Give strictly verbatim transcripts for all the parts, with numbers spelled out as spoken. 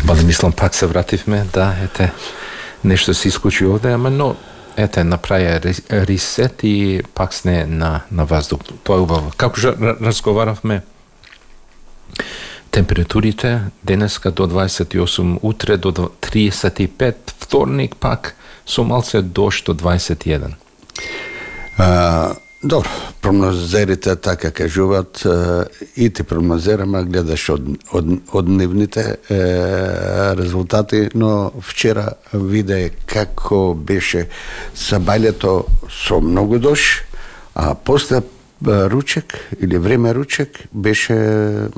Бали мислам пак се вративме, да, ете, нешто се исклучи овде, ама но, ете, направи ресет и пак сне на, на воздух. Тоа е убаво. Како жа разговаравме, температурите денеска до дваесет и осум, утре до триесет и пет, вторник пак со малце дожд до дваесет и еден. А, добро, прогнозерите така кажуваат, и ти прогнозераме, гледаш од, од, од дневните е, резултати, но вчера виде како беше сабајлето со многу дожд, а после ручек или време ручек беше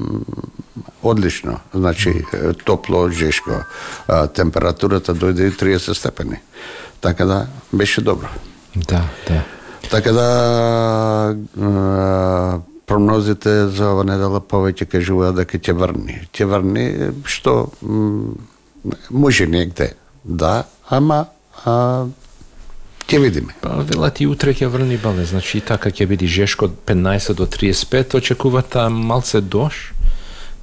одлично, значи топло, жешко. А, температурата дојде и триесет степени. Така да беше добро. Да, да. Така да а, прогнозите за ова недела повеќе кажуваат дека ќе врни. Ќе врни што м, може негде, да, ама а, ќе видиме. Па велат и утре ќе врни бале, значи и така ќе биде жешко од петнаесет до триесет и пет, очекувата малце дожд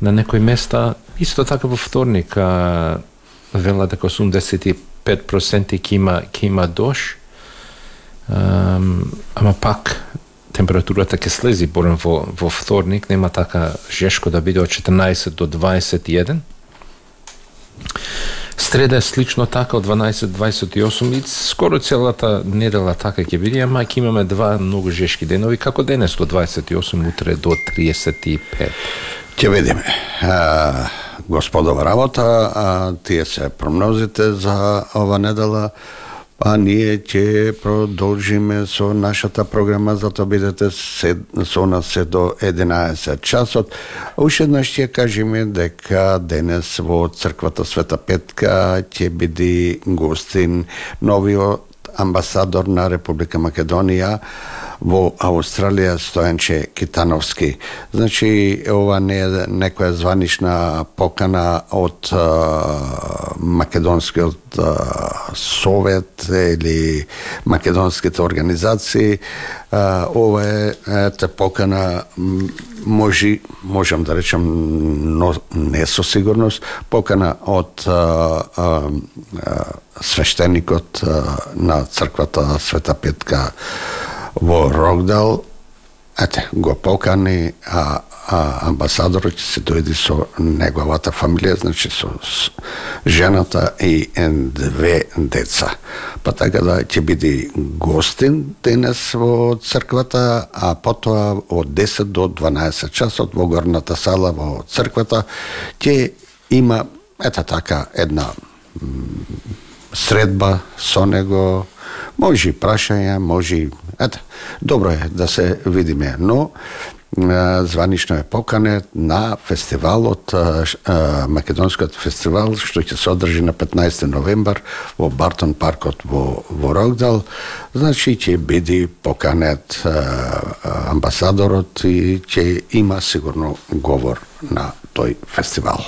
на некои места, исто така во вторник, а, велат дека осумдесет и пет проценти ќе има ќе има дожд. Um, ама пак температурата ќе слези борем во, во вторник, нема така жешко да биде од четрнаесет до дваесет и еден. Среда е слично така од дванаесет до дваесет и осум и скоро целата недела така ќе биде, ама ќе имаме два многу жешки денови, како денес до дваесет и осум, утре до триесет и пет. Ќе видиме. А, господова работа, а, тие се прогнозите за ова недела. А ние ќе продолжиме со нашата програма, затоа бидете се, со нас се до единаесет часот. Уште еднаш ќе кажеме дека денес во црквата Света Петка ќе биде гостин новиот амбасадор на Република Македонија во Австралија, Стојанче Китановски. Значи, ова не е некоја званична покана од а, македонскиот а, совет или македонските организации. А, ова е ете покана, може, можам да речам, но не со сигурност, покана од а, а, а, свештеникот а, на црквата Света Петка во Рокдал, ете, го покани, а, а амбасадорот ќе се дојде со неговата фамилија, значи со, со жената и две деца. Па така да ќе биде гостин денес во црквата, а потоа од десет до дванаесет часот во горната сала во црквата ќе има, ета така, една средба со него, може и прашања, може и... Ете, добро е да се видиме, но званично е поканет на фестивалот, македонскиот фестивал, што ќе се одржи на петнаесети новембар во Бартон паркот во, во Рокдал. Значи ќе биде поканет амбасадорот и ќе има сигурно говор на тој фестивал.